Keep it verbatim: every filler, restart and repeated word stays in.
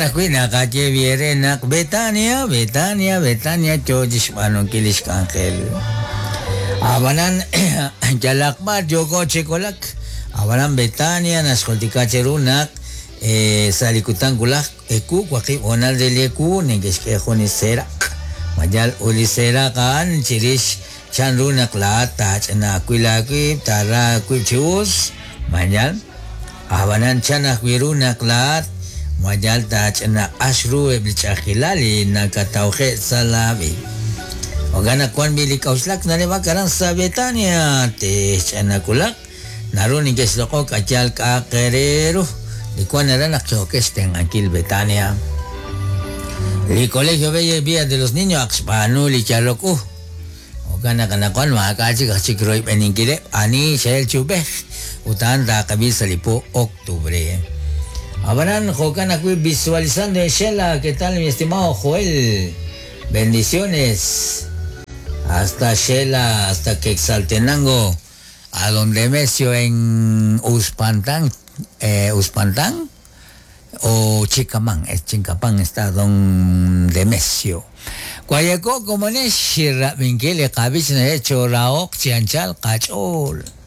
Jo'kan ajwi' naqaye viere naq Betania, Betania, Betania yo chixb'aanunkil lix k'anjel. Ab'anan yalaq b'ar yooko chi kolak. Ab'anan Betania naxjultika cheru naq eh, sa' li kutan wulaj ewu waqib' hoonal re li ewu neke'xk'e jun li seeraq. Mayal ut li seeraq a'an chirix chanru naq laa'at taach'ina aawib' aawib', taara aawib' chi us. Mayal ab'anan chan ajwi' ru naq laa'at mayal taach'ina q'ax ru eb' li ch'a'ajkilal li nakatawje' sa' laab'e. Jo'kan naq wan b'i li k'auxlak naleb'ak aran sa' Betania te'xch'ina kulaq naru neke'xloq'ok ayal k'a'aq re ru li wan aran naq yookex xtenq'ankil Betania. Li Colegio Bella Villa de los Niños ak xb'aanu li yalok u. Jo'kan naq anaqwan maak'a' chik aj chik royb'eninkileb' ani xe'el chi ub'ej ut a'an taaqab'il sa' li po octubre. Ab'anan jo'kan ajwi' visualizando en Xela, ¿qué tal mi estimado Joel? Bendiciones. Hasta Xela, hasta Quetzaltenango, a donde Demesio en Uspantán, eh, Uspantán o Chicamán, es Chincapán está don Demesio. Guayaco como ne shirra minkili qabich na hecho raok chianchal qach'ol.